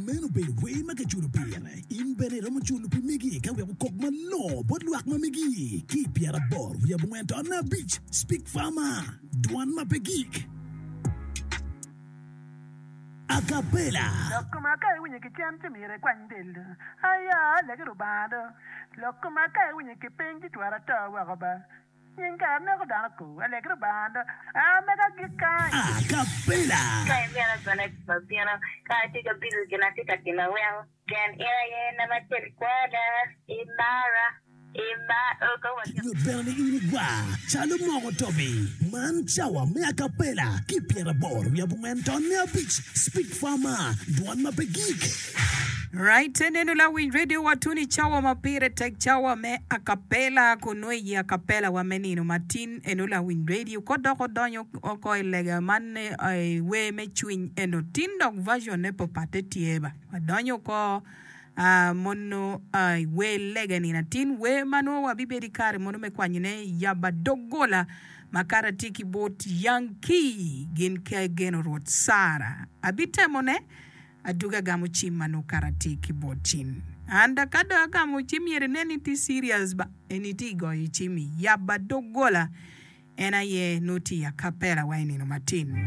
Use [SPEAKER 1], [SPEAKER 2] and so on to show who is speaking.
[SPEAKER 1] Meno obedo wer ma kiculo pire. In bene iromo culo pi megi ka wek okok malongo bot lwak ma megi ki i pyeraboro wiye abongwen tonne abic. Speak Farmer, Dwan ma pe gik. Acapella.
[SPEAKER 2] Lok koma ka iwinyo ki cen ci myero ikwany del do. Aya, legi Rubanga do. Lok koma ka iwinyo ki piny ci twero ato woko ba. Nying kare neko dano ko. Alegi Rubanga do. A mega agik kany.
[SPEAKER 1] Acapella.
[SPEAKER 3] Ka imito bene abino, ka atye ka bico gin atye ka timo weko. Pien in aye nama acel kwada, imara, imara, ka wa.
[SPEAKER 1] Nyut bene ni in igwar calo moko tobi. Man cawa me acapella ki pyeraboro wiye abongwen tonne abic Speak Farmer, dwon ma pe gik.
[SPEAKER 4] Right, enenu lawiny radio wa tun i cawa ma pire tek cawa me acapella kun nongo iyi acapella wa me nino matin enu lawiny radio ko dok odonyo oko i lega man i wer me cwiny eno tin dok version ne papatte tye ba. Wadonyo oko mono i wer lega nino atin, wer ma nongo wabibedo i kare mono me kwanyone yaba doggola ma kara tye ki bot Yankee gin ki ageno Rwot Sara. Abitemone aduga agamo cim ma nongo kara tye ki bot cim. And ka dong agamo cim myero inen ni tye serious ba, eni tye goyo cim i yaba doggola en aye nongo tye i acapella wa i nino matin.